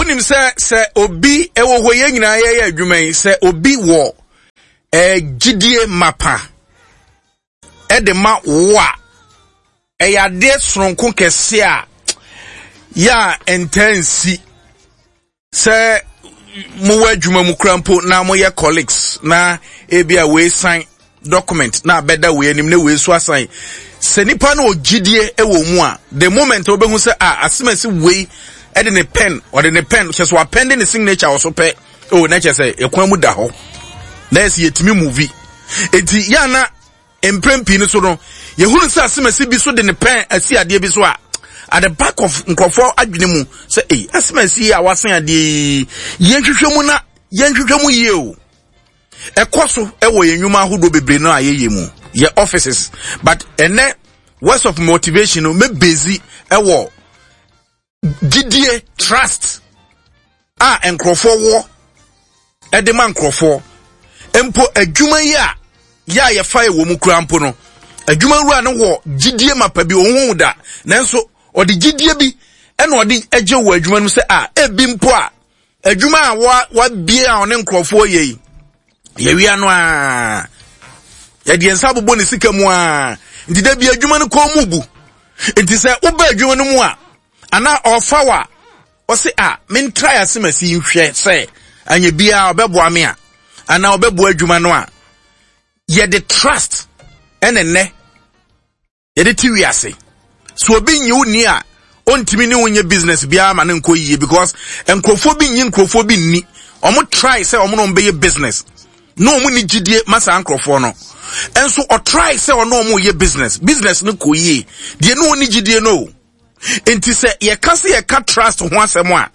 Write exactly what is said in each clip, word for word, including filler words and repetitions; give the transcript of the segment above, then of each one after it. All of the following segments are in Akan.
Wonim sɛ sɛ obi ɛwɔ hɔ, yɛn nyinaa yɛyɛ adwuma yi, sɛ obi wɔ ɛɛ gyidie mapa ɛde ma wo a, ɛyɛ adeɛ soronko kɛse a yɛ a ɛntɛn nsi sɛ mowɔ adwuma mu kura mpo na moyɛ colleagues, na ebi a wei sign document na abɛda wei anim na wei so asan. Sɛ nipa no ogyidie wɔ mu a, the moment wobɛhu sɛ a asemasi wei ɛde ne pen, ɔde ne pen kyɛ so apɛnde ne signature wɔ so pɛ o, na kyɛ sɛ ɛkwan mu da hɔ na yɛsɛ yɛtumi move. Eti yɛana mprɛn pii no so no, yɛhunu sɛ asemasi bi so de ne pen asi adeɛ bi so a, at the back of nkurɔfoɔ adwene mu sɛ, ei, asemasi yi a wasen adeɛ yi, yɛnhwehwɛ mu na yɛnhwehwɛ mu yie o. Ɛkɔ so ɛwɔ yɛn nnwuma ahodoɔ bebree no a yɛyɛ mu, yɛ offices. But ɛnɛ words of motivation no mɛbezi ɛwɔ gyidie, trust a nkurɔfoɔ wɔ ɛde ma nkurɔfoɔ mpo. Adwuma yi a yɛ a yɛfa yɛ wɔ mu kura mpo no, adwuma wura no wɔ gyidie mapa bi, ohun da, nanso ɔde gyidie bi ɛna ɔde agye wɔ adwuma no mu sɛ a ebi mpo a adwuma a wa wabie a ɔne nkurɔfoɔ yɛ yi, yɛwia no a, yɛde yɛn nsa abobɔ ne sika mu a, nti da bi adwuma no kɔn mu bu. Nti sɛ woba adwuma no mu a, anaa ɔfa wa ɔse a mentra ase ma si nhwɛ sɛ anya biara ɔbɛboa me a, anaa ɔbɛboa adwuma no a, yɛde trust ɛne nnɛ yɛde ti wiase so. Obi nyi wo ni a, ɔntumi ne wo nyɛ business biara ma ne nkɔ yie, because nkurɔfoɔ bi nyi nkurɔfoɔ bi nni. Ɔmo try sɛ ɔmo na ɔmo bɛyɛ business na ɔmo ni gyidie ma saa nkurɔfoɔ no nso. Ɔtry sɛ ɔno ɔmo yɛ business, business no kɔ yie deɛ, ne ɔni gyidie no. Nti sɛ yɛka sɛ yɛka trust ho asɛm a,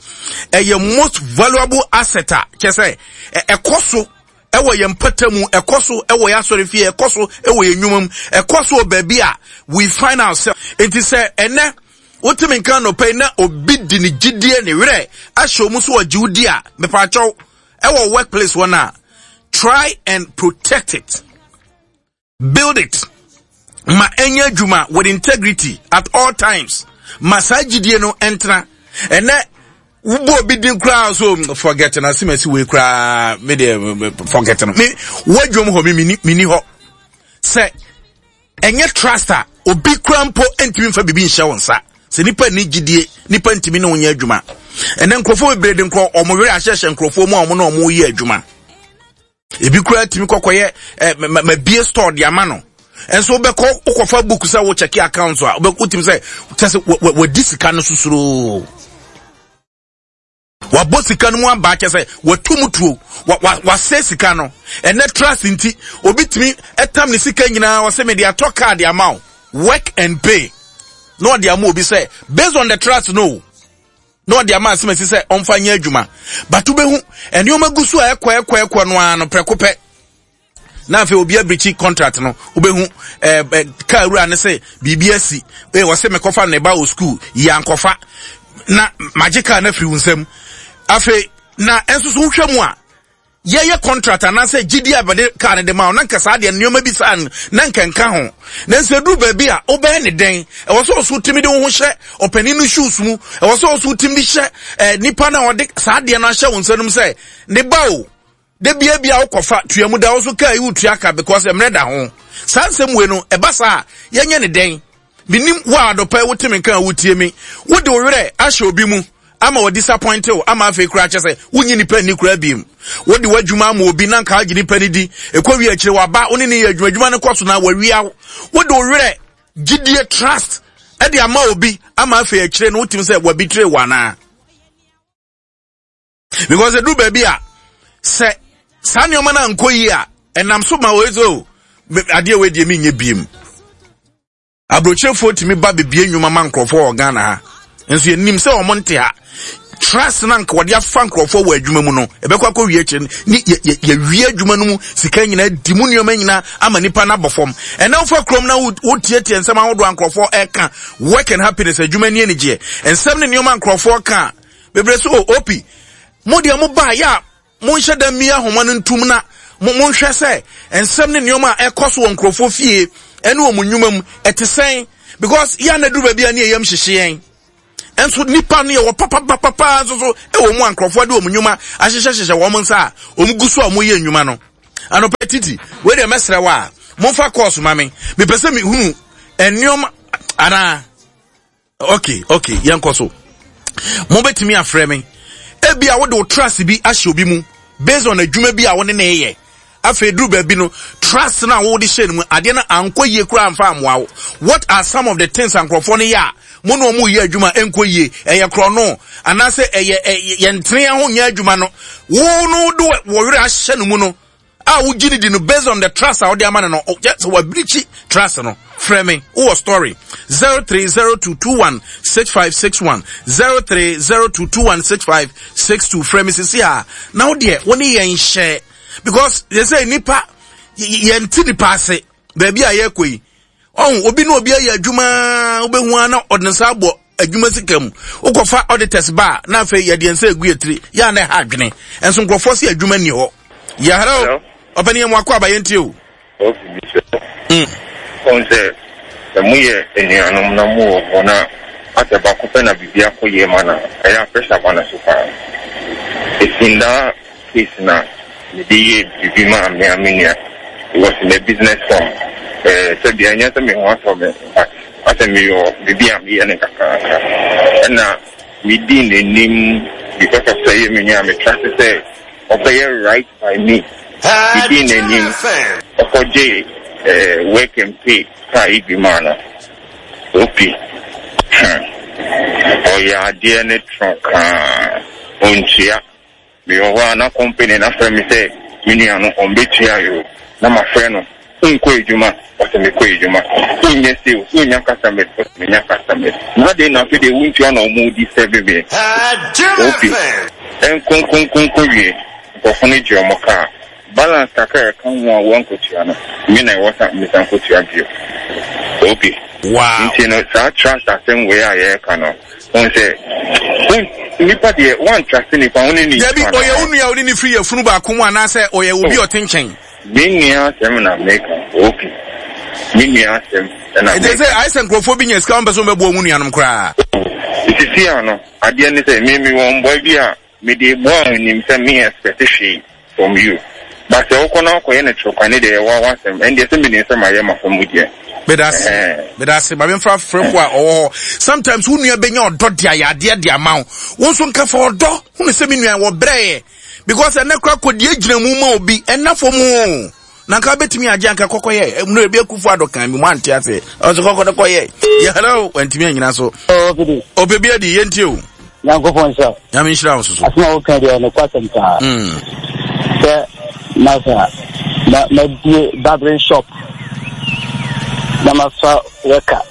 ɛyɛ most valuable asset a kyɛ sɛ ɛkɔ so ɛwɔ yɛn mpata mu, ɛkɔ so ɛwɔ yɛn asɔre fie, ɛkɔ so ɛwɔ yɛn nnwuma mu, ɛkɔ so wɔ baabi a we find ourselves. Nti sɛ ɛnɛ wotumi nka nɔpɛ yi na obi di ne gyidie ne werɛ ahyɛ wɔn so ɔgye wo di a, mepaakyɛw, ɛwɔ workplace hɔ na try and protect it, build it, ma ɛnyɛ adwuma with integrity at all times, ma saa gyidie no ɛntena. Ɛnɛ wobɔ obi din koraa so, forget na asemasi wei koraa, me deɛ, forget no. Me wadwom hɔ, me mini hɔ sɛ ɛnyɛ trust a, obi koraa mpo ntumi nfa biribi nhyɛ wo nsa. Sɛ nipa ni gyidie, nipa ntumi ne wo nyɛ adwuma. Ɛnɛ nkurɔfoɔ bebree de nkurɔ ɔmo werɛ ahyehyɛ nkurɔfoɔ mu a ɔmo ne ɔmo yɛ adwuma. Ebi koraa tumi kɔkɔyɛ ɛ ma bie store de ama no, nso wobɛkɔ wokɔfa book sɛ wo check account a, wotumi sɛ kyɛ sɛ wadi sika no sosoroo, wabɔ sika no mu aba, kyɛ sɛ watu mu tuo, wasɛ sika no. Ɛnɛ trust nti obi tumi ɛtam ne sika nyinaa, ɔsɛ mede atɔ car de ama wo, work and pay, na ɔde ama obi sɛ based on the trust no, na ɔde ama asɛm asi sɛ ɔmfa nyɛ adwuma. But wobɛhu nneɛma gu so a ɛkɔ ɛkɔ ɛkɔ no ara no, prɛko pɛ na afei obi abirikyi contract no. Wobɛhu ɛɛ ɛ kaa wura ne sɛ biribi asi ee, wɔsɛ mekɔfa ne ba wɔ school yi, ankɔfa na magye kaa no afiri wo nsam. Afei na ɛnso so wohwɛ mu a, yɛyɛ contract anaasɛ gyidi a bɛde kaa no de ma wo, na nka saa deɛ nneɛma bi saa no na nka nka ho. Na nso eduru baabi a wobɛyɛ ne dɛn? Ɛwɔ sɛ ɔso tumi de wo ho hyɛ ɔpanin no shoes mu. Ɛwɔ sɛ ɔso tumi de hyɛ ɛɛ nipa na ɔde saa deɛ no ahyɛ wo nsa no mu sɛ ne ba o, de bia bia wokɔfa tua mu da wo so kaa yi, wotua ka because mmerɛ da ho. Saa nsɛm wei no ɛba saa a, yɛnyɛ ne dɛn? Menim wo a adɔpɛ wote me nka a wotie me, wode wo werɛ ahyɛ obi mu ama wɔ disappoint wo, ama afei koraa kyɛ sɛ wonyi nipa nni koraa biem. Wode w'adwuma ama obi na nka agye nipa no di, ɛkɔ wie akyire waba wo ne ne yɛ adwuma, adwuma no kɔ so na wawia wo. Wode wo werɛ, gyidie, trust ɛde ama obi ama afei akyire no wotumi sɛ wabitire wo anaa? Because ɛduru baabi a, sɛ saa nneɛma no ankɔ yie a, ɛnam so ma wei sɛ o, adeɛ wei deɛ menyɛ biem. Aburokyerefoɔ tumi ba bebie nnwuma ma nkurɔfoɔ wɔ Ghana ha, nso yɛnim sɛ wɔn nte ha. Trust na nka wɔde afa nkurɔfoɔ wɔ adwuma mu no, ɛbɛkɔ akɔ wie akyire ne yɛwie adwuma no mu sika nyinaa di mu, nneɛma nyinaa ama nipa no abɔ fam. Ɛnna wofa kurom na wotietie nsɛm ahodoɔ a nkurɔfoɔ ɛka, Work and Happiness, adwuma ni anigyeɛ nsɛm ne nneɛma nkurɔfoɔ ka bebree so. O op mo deɛ, mo baa yɛ a, monhyɛ da mmia ahoma no ntum na monhwɛ sɛ nsɛm ne nneɛma a ɛkɔ so wɔ nkurɔfoɔ fie ɛne wɔn nnwuma mu ɛte sɛn, because yɛn na duru baabi a ne yɛyam hyehye yɛn. Nso nipa no yɛ wɔ papapapa nso so ɛwɔ mu a nkurɔfoɔ de wɔn nnwuma ahyehyɛhyehyɛ wɔn nsa a wɔn gu so a wɔyɛ nnwuma no. Anɔpa titi, wei deɛ mɛsrɛ wo a, momfa kɔɔso ma me. Mepɛ sɛ mehunu nneɛma anaa. Okay, okay, yɛnkɔ so. Mobɛtumi afrɛ me. Ebi a wode wo trust bi ahyɛ obi mu based on adwuma bi a wo ne ne yɛ. Afei duru baabi no, trust na wode hyɛ no mu, adeɛ no ankɔ yie koraa amfa ammoa wo. What are some of the things nkurɔfoɔ no yɛ a mo ne wɔn yɛ adwuma ɛnkɔ yie? Ɛyɛ korɔno anaasɛ ɛyɛ yɛntene ho nyɛ adwuma no. Wo no de wɔ werɛ ahyɛ no mu no a wogye ne di no based on the trust a wode ama no no, sɛ wabirikyi trust no. Frɛ me, wowɔ story zero three zero two two one six five six one zero three zero two two one six five six two. Frɛ me sisi a na wo deɛ wo ne yɛn hyɛ, because they say nipa yɛn ti nipa ase baabi a yɛkɔ yi ɔn obi ne obi ayɛ adwuma wobɛhu a na ɔde nsa abɔ adwuma sika mu wokɔfa auditors ba na afei yɛde nsa egu yɛ yɛ a na ɛha adwene nso nkurɔfoɔ si adwuma ni hɔ. Yɛ hello, ɔpɛni yɛn mu akɔ aba yɛn tie o. Ɔn sɛ sɛ moyɛ anuanom na mowɔ hɔ na asɛ baako pɛ na biribi akɔ yie ma na ɛyɛ a pressure ba no so paa. Ɛsi ndaa case na mede yɛ biribi ma me a me nua. It was in a business form. Ɛɛ sɛbi ɛnyɛ sɛ me ho atɔ me, but asɛ meyɔ biribi a meyɛ no kakrakra. Ɛna medi n'anim because of sɛ ɛyɛ me nua, me trust sɛ ɔbɛyɛ right by me. Medi n'anim ɔkɔgye ɛɛ work and pay kaa yi bi maa no. Opi ɔyɛ adeɛ ne trɔkaa ɔntua. Meyɛ hɔ a na company na frɛ me sɛ me nua no ɔmbɛtua yo, na mafrɛ no wonkɔ adwuma, ɔsɛ mekɔ adwuma. Wonyɛ sales, wonya customers, ɔsɛ menya customers. Na de na afei deɛ wontua na ɔmo di sɛbe me. Opi ɛnkonkonkonko wie, nkurɔfo no gye ɔmo kaa balance kakra ɛka ho a wɔnkɔtua no, me na ɛwɔ sa mesan kɔtua bio. Opi Wow. Nti no saa trust asɛm wei a yɛreka no, wɔn sɛ nipa deɛ wɔn trust nipa wɔn ne ne Dabi, ɔyɛ wo nua a wode ne firi yɛfunu baako mu anaasɛ ɔyɛ obi a ɔte nkyɛn? Me nua asɛm na meka, opi me nua asɛm ɛna Ɛnti sɛ ayɛ sɛ nkurɔfoɔ bi nya sika wɔn pɛ sɛ wɔbɛboa wɔn nuanom koraa. Sisi ano adeɛ ne sɛ me me wɔ mbɔe bi a mede boa a onim sɛ me expect hwee from you, but sɛ wokɔ na wokɔyɛ no torokwane deɛ, yɛwɔ awasɛm. Ɛndeɛ sɛ menim sɛ mayɛ mafa mu deɛ. Medase, medase. Maame nfa frɛfo a ɔwɔ hɔ. Sometimes wo nua bɛnya ɔdɔ de ayɛ adeɛ de ama wo. Wo nso nka fa ɔdɔ hunu sɛ me nua wɔ brɛɛ, because ɛnɛ kora kɔdeɛ gyina mu ma obi ɛna fam o na nka bɛtumi agye anka kɔkɔyɛ no ebi akufo adɔ kan mi mu ante ase ɔsɛ kɔkɔ no kɔyɛ yɛ. Hello, wantumi anyina so ɔpɛ bi adi. Yɛntie o. Nyankopɔn nhyira. Nyame nhyira wo soso. Asɛm a woka deɛ nokwasɛm paa sɛ masa na mabie barbering shop na mafa wɛka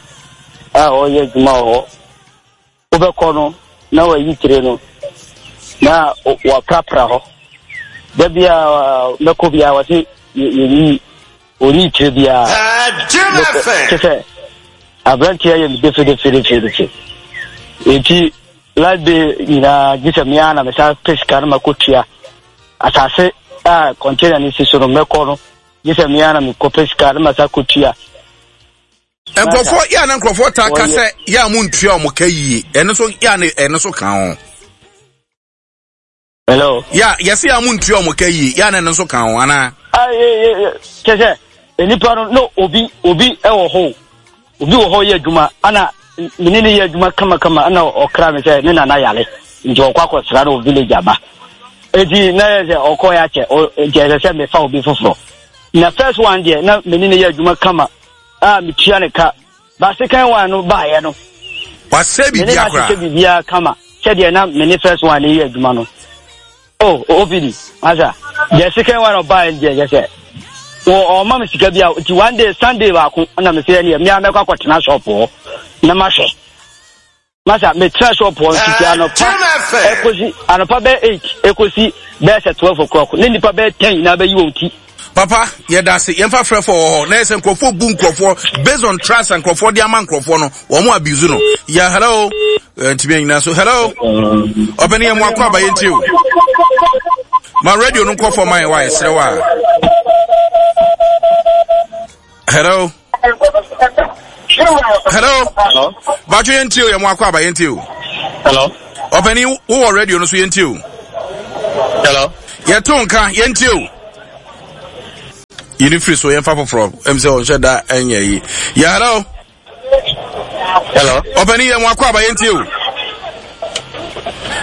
a ɔyɛ adwuma wɔ hɔ. Wobɛkɔ no na wayi tire no na waprapra hɔ. Da bia mɛkɔ biara wɔse yɛyi ɔnyi tire biara kyɛ sɛ aberanteɛ yɛ me defedefedefedefe. Nti light bill nyinaa gye sɛ mea na mesan pɛ sika no makɔtua. Asase a container no si so no, mɛkɔ no gye sɛ mea na mekɔpɛ sika no masa kɔtua. Nkurɔfoɔ yɛ a na nkurɔfoɔ taa ka sɛ yɛ a mo ntua ɔmo ka yie, ɛno nso yɛ a na ɛno nso ka ho. Hello. Yɛ a yɛsɛ yɛ a mo ntua ɔmo ka yie, yɛ a na ɛno nso ka ho anaa? Kyɛ sɛ nipa no na obi obi wɔ hɔ, obi wɔ hɔ yɛ adwuma ana mene ne yɛ adwuma kamakama, ana ɔkra me sɛ ne nana yare nti ɔkɔ akɔsra no wɔ village aba. Eti na yɛ sɛ ɔkɔ yɛ akyɛ, nti ɛsɛ sɛ mefa obi foforɔ. Na first one deɛ, na mene ne yɛ adwuma kama a metua ne ka, ba second one no baayɛ no wasɛ mene biribiara na koraa ahyehyɛ biribiara kama sɛdeɛ na mene first one ne yɛ adwuma no. Oh, O P D masa, the second one ɔbaayɛ deɛ, yɛ sɛ wɔ ɔma me sika bi a, nti one day, Sunday baako na me sɛ ɛneɛ mmea mɛkɔ akɔtena shop hɔ na mahwɛ. Masa, metena shop hɔ ntiti anɔpa ɛkɔsi anɔpa bɛyɛ eight ɛkɔsi bɛyɛ sɛ twelve o'clock ne nipa bɛyɛ ten nyinaa bɛyi wɔn ti. Papa, yɛda ase. Yɛmfa frɛfo wɔ hɔ na yɛ sɛ nkurɔfoɔ bu nkurɔfoɔ based on trust a nkurɔfoɔ de ama nkurɔfoɔ no, wɔn mo abuse no. Yɛ hello, ntumi anyina so. Hello, ɔpɛni, yɛ mo akɔ aba. Yɛntie o. Ma radio no nkɔ fam ayɛ wa yɛserɛ wa. Hello, hello, baatwo, yɛntie o. Yɛ mo akɔ aba, yɛntie o. Hello. Ɔpɛni wowɔ radio no so yɛntie o. Hello. Yɛto nka yɛntie o. Yini firi so yɛmfa foforɔ ɛm sɛ ɔnhyɛ da ɛnyɛ yi. Yɛ hello. Hello. Ɔpɛni yɛ mo akɔ aba yɛntie o.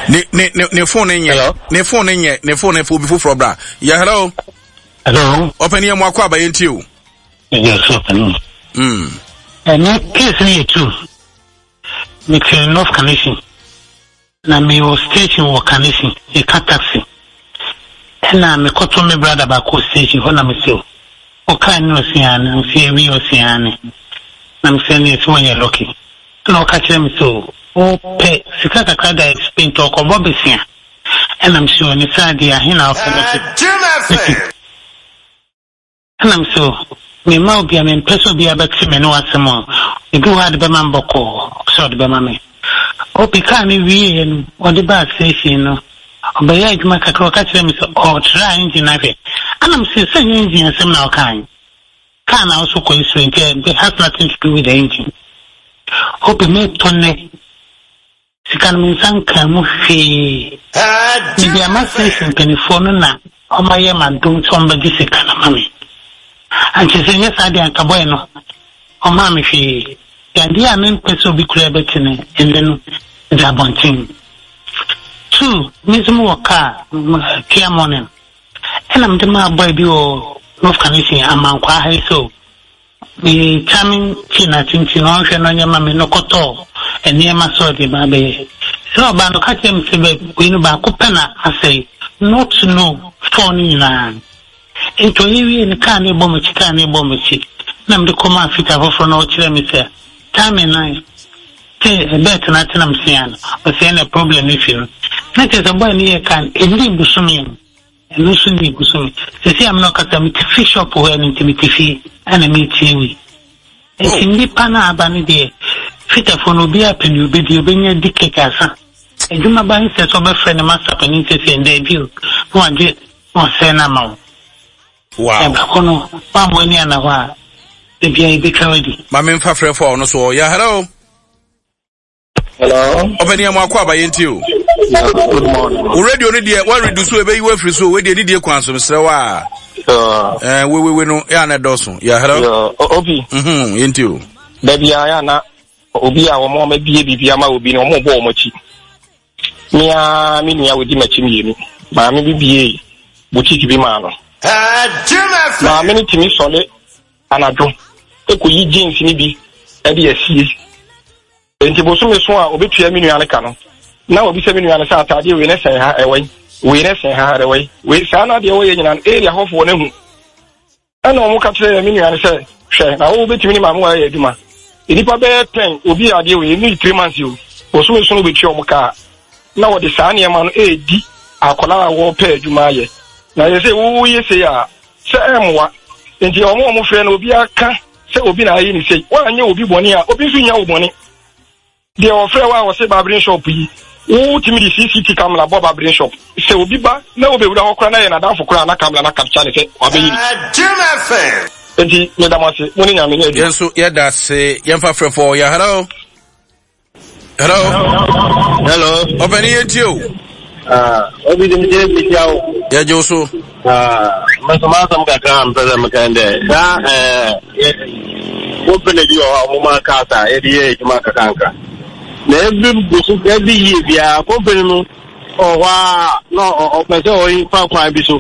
Ne ne ne ne phone ne nyɛ. Ne phone ne nyɛ ne phone ne fo obi foforɔ bra. Yɛ hello. Hello. Ɔpɛni yɛ mo akɔ aba yɛntie o. Yes, ɔpɛni. Mm. Ɛne case no yɛ two. Mete North Kaneshie. Na mewɔ station wɔ Kaneshie, meka taxi. Ɛna mekɔto me brother baako wɔ station hɔ na mese o, ɔkaa ne ɔse aane, mese awie ɔse aane. Na mese ɛneɛ sɛ wanyɛ lucky. Ɛna ɔka kyerɛ me sɛ o, ɔpɛ sika kakra da explain nti ɔkɔbɔ besia. Ɛna mese o, ne saa deɛ ahe na wopɛ no ɔse thirty. Ɛna mese o, memma obia, mempɛ sɛ obia bɛte me ne w'asɛm o, ebi wɔ hɔ a de bɛma me bɔkɔɔ, sɛ ɔde bɛma me. Opi kaa no wieeɛ no, ɔde baa station no, ɔbɛyɛɛ adwuma kakra, ɔka kyerɛɛ me sɛ ɔɔtra engine no ahwɛ. Ɛna mese, sɛ ɛnyɛ engine asɛm na ɔkae, kaa na wo so kɔ Israel nti it has nothing to do with the engine. Opi metɔ nnɛ, sika no me nsa nkaa mu hwee. Mede ama station mpanimfoɔ no na wɔayɛ m'adom sɛ wɔbɛgye sika no ama me. Ankyɛ sɛ ɛnyɛ saa deɛ anka bɔe no, ɔmaa me hwee. Adeɛ a mempɛ sɛ obi koraa bɛte no, ɛnnɛ no, mede abɔnten. Two, me nso mewɔ kaa, Kia Morning. Ɛna mede maa bɔe bi wɔ North Kaneshie, Amankwaa ha yi so. Me kyame kyi na kyinkyin na ɔnhwɛ na ɔnyɛ ma me no kɔtɔɔ nneɛma sɛ ɔde ba abɛyɛ. Sɛ ɔbaa no, ɔka kyerɛɛ me sɛ bɛ wei no baako pɛ na asɛe, not to know four no nyinaa. Nti ɔyɛ wiee no, kaa no rebɔ m'akyi, kaa no rebɔ m'akyi. Na mede kɔmaa fita foforɔ na ɔkyerɛɛ me sɛ timing no te ɛbɛɛt no ate na mesea no, ɔsɛ ɛna problem no fi no. Na kyerɛ sɛ bɔe no yɛɛ kaa no, ɛnnii bosome no. Ɛno nso nnii bosome. Seesei a me ne wo kasa, mete fi shop hɔ ɛno nti mete fie ɛna meretie wei. Nti nnipa no a aba no deɛ, fitafoɔ no obiara pɛ nea ɔbɛdi, ɔbɛnya di kɛkɛ asa. Adwuma ba nsɛ sɛ ɔbɛfrɛ ne masta panin seesei, daabi o, na wagye na wasɛe no ama wo. Wow. Ɛbaako no, woammɔ ani anna hɔ a, da biara yɛbɛtwa wo adi. Ma memfa frɛfoɔ a ɔno so ɔ. Yeah, hello. Hello. Ɔpɛni ɛmu akɔ aba yɛn ti o. Good morning. O radio no deɛ wɔn redu so ebeyi wɔ afiri so o deɛ didie kwan so mesrɛ wa. Ɛɛ wewewe no yɛ ana dɔɔso. Yeah, hello. Obi. Mhm yɛn ti o. Dabi a yɛ ana obi a wɔn wɔn abie biribi ama obi no wɔn bɔ wɔn akyi. Mia mi nua odi m'akyi mmienu. Maame bi bie boutique bi maa no. Maame no tumi sɔle anadwo ekoyi jeans ni bi ɛde asie. Enti bosome so a obetua me nua no ka no, na wabisa me nua no sɛ ataadeɛ wei ne sɛn ha ɛwɔ yi, wei ne sɛn ha ɛwɔ yi, wei saa na adeɛ wɔyɛ nyinaa no area hɔfoɔ no ahu. Ɛna wɔn ka kyerɛ me nua no sɛ, hwɛ na wo bɛtumi ne maame wɔayɛ adwuma. Nnipa bɛyɛ ten obi yɛ adeɛ wei ɛnni three months o, bosome so no obetua wɔn ka na wɔde saa nneɛma no ɛredi akwadaa a wɔrepɛ adwuma ayɛ. Na yɛ sɛ woyɛ sei a sɛ ɛmmoa. Enti wɔn a wɔfrɛ no obiara ka sɛ obi na ayɛ ne sei. Woanyɛ obi bɔne a, obi nso nya wo bɔne. Deɛ wɔfrɛ wo a wɔse barbering shop yi, wotumi de C C T camera bɔ barbering shop. Sɛ obi ba na wobɛwura hɔ koraa na yɛ n'adamfo koraa na camera na capture ne sɛ wabɛyi ne. Enti meda mo ase, mo ne Nyame nyɛ adwuma. Yɛn nso yɛda ase. Yɛmfa frɛfoɔ. Yɛ hello. Hello. Hello. Ɔpɛni yɛn tie o. Ah, obi de mi jẹ mi tia o. Yɛ jẹ o so. Ah, mɛsɛm asɛm kakra a mpɛ sɛ meka dɛ saa ɛɛ company bi wɔ hɔ a wɔn ma cars a yɛde yɛ adwuma kakanka na every boso every year biara company no ɔwɔ hɔ a na ɔpɛ sɛ ɔfa kwan bi so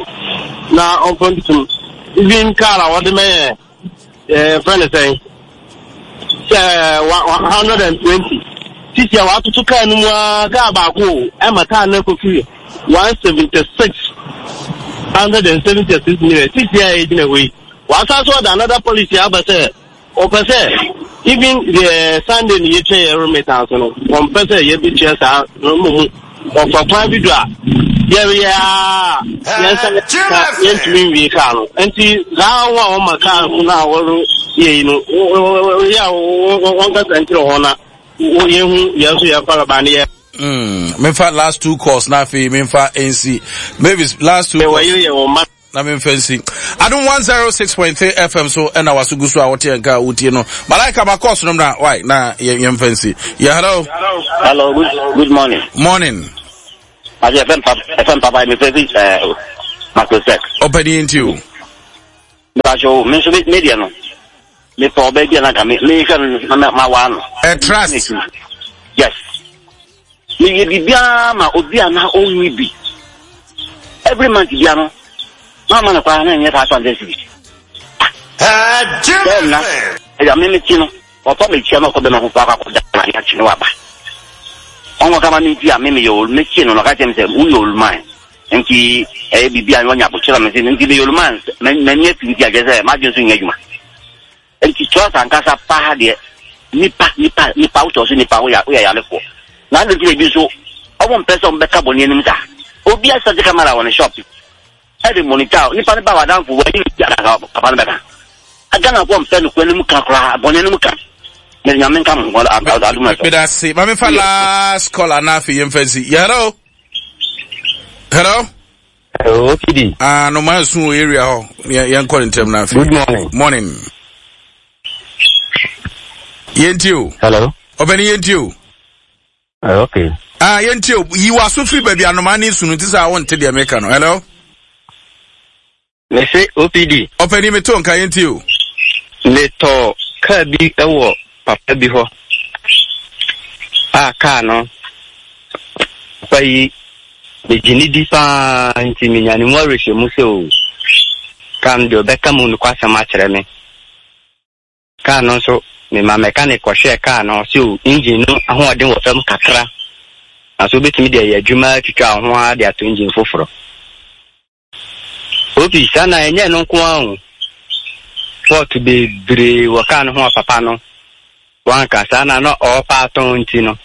na ɔmfa ntum even car a wɔde mɛyɛ ɛɛ fɛn ne sɛn sɛ one hundred and twenty sisi a watoto kaa no mu ara kaa baako o ɛma kaa no akɔfiri one seventy six hundred and seventy six million sisi a yɛgyina hɔ yi wasan so ɔda another policy aba sɛ ɔpɛ sɛ even the Sunday ne yɛtwa yɛ remittance no wɔmpɛ sɛ yɛbɛtua saa no mmom ɔfa kwan bi do a yɛreyɛ a yɛnsa ka yɛntumi nwie kaa no nti saa ho a wɔma kaa no a wɔreyɛ yi no yɛ a wɔnkasa nkyerɛ hɔ na yɛhu yɛn nso yɛfa baba ne yɛ. Memfa last two calls na afei memfa nsi Mavis last two calls. Na memfa nsi Adom one oh six point three F M so, ɛna waso gu so a wote nka a wotie no. Malaika ma kɔɔso no mmra wai na yɛmfa nsi. Yeah, hello. Hello, good, good morning. Morning. Ase F M papa, F M papa, mi fɛ fi ɛɛ Makrosek. Ɔpɛni, nti o. Mepakyɛw, me nso me deɛ no, mepɛ ɔbaa bi a nanka me mehwɛ no na ma waa no. Ɛ trust. Yes. Meyɛ biribiara ma obi a na ɔnni bi. Every month bia no, na ama no koraa na ɛnyɛ five hundred cedis. Bɛn na ɛyà me me ti no, ɔfa me kyia na ɔkɔ bɛma foforɔ akɔ akɔda na ade akyi ne waba. Ɔnkɔ kama me nti a me meyɛ ol metie no na ɔka kyerɛ me sɛ woyɛ oluman nti ɛyɛ biribi a wɔnya abokyerɛ me sɛ nti meyɛ oluman, m'ani afi nti agyɛ sɛ m'adwene so nyɛ adwuma. Nti trust ankasa paa deɛ, nipa nipa nipa wotɔ so nipa woyɛ woyɛ yarefoɔ na adi nti ebi nso ɔmo mpɛ sɛ ɔmo bɛka bɔnne anim saa. Obi asɛte camera wɔ ne shop ɛde monitor nipa ne ba wadanfo wɔyi ne ti papa no bɛka. Ghanafoɔ mpɛ no kura anim ka koraa, bɔnne anim ka. Mɛ Nyame nka mo adum ɛsɛ. Meda se ma mefa last caller na afei yɛmfa nsi. Yeah, hello, hello. Hello, O P D. Ah, no ma nsu wɔ area hɔ. Yɛnkɔ ne ntɛm na afei. Good morning. Morning, yɛntie o. Hello. Ɔpɛni, yɛntie o. Uh, okay. Ah, yɛntie o. Yi w'aso firi baabi anoma ne sunu nti sɛ a wonte deɛ meka no. Hello. Mese O P D. Ɔpɛni, meto nka, yɛntie o. Metɔ kaa bi wɔ papa bi hɔ a kaa no, papa yi megye ne di paa nti menya ne mu awerɛhyɛmu sɛ o kaa no deɛ, ɔbɛka mu nokwasɛm akyerɛ me. Kaa no nso, mema mechanic kɔhwɛɛ kaa no, ɔsɛ o engine no ahoɔden wɔ fam kakra na so wobɛtumi de ayɛ adwuma atwitwa wo ho ara de ato engine foforɔ. Obi saa na ɛnyɛ no nko ara o, fault bebree wɔ kaa no ho a papa no wanka saa na na ɔɔpa atɔn nti no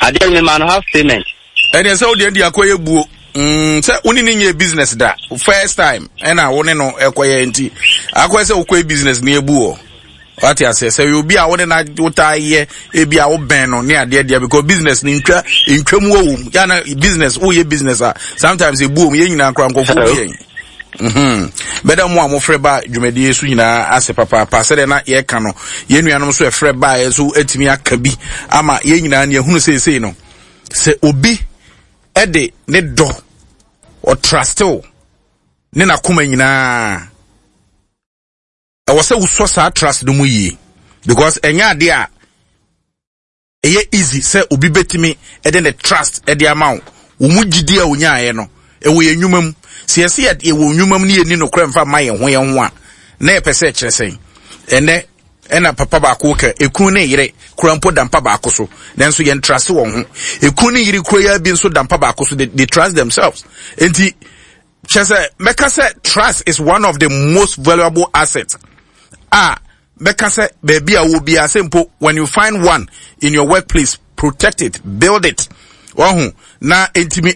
adeɛ no mema no half payment. Ɛdeɛ sɛ wodeɛ de akɔyɛ buo mm, sɛ wo ne ne nyɛ business da, first time ɛna wo ne no ɛkɔyɛ nti akɔyɛ sɛ wokɔyɛ business ne ebu wɔ wate aseɛ sɛ yɛ obi a wo ne na wotaa yɛ ebi a wobɛn no ne adeɛ deɛ, because business ne ntwa ntwa mu wɔ mu yana business, woyɛ business a sometimes ebu wɔ mu. Yɛn nyinaa koraa nkɔfo bi yɛn mhm bɛda mu a mofrɛ ba dwumadie so nyinaa ase papaapa. Sɛdeɛ na yɛka no, yɛn nuanom nso ɛfrɛ ba yɛ nso atumi aka bi ama yɛn nyinaa ne yɛhunu seesei no sɛ obi ɛde ne dɔ ɔtrust wo ne n'akoma nyinaa, ɛwɔ sɛ wosɔ saa trust no mu yie, because ɛnyɛ adeɛ a ɛyɛ easy sɛ obi bɛtumi ɛde ne trust ɛde ama wo. Wo mu gyidi a onyaeɛ no ɛwɔ yɛn nnwuma mu. Sɛ yɛsɛ yɛ yɛwɔ nnwuma mu ne yɛni nokorɛ mfa ma yɛn ho yɛn ho a, na yɛpɛ sɛ ɛkyerɛ sɛn? Ɛnɛ ɛna papa baako ka ekunu ne yere kura mpo da mpa baako so, nanso yɛn trust wɔn ho. Ekunu ne yere kura yɛ bi nso da mpa baako so, they, they trust themselves. Nti kyerɛ sɛ mɛka sɛ trust is one of the most valuable assets a mɛka sɛ baabi a wɔ biara sɛ mpo when you find one in your workplace, protect it, build it. Wahu na ntumi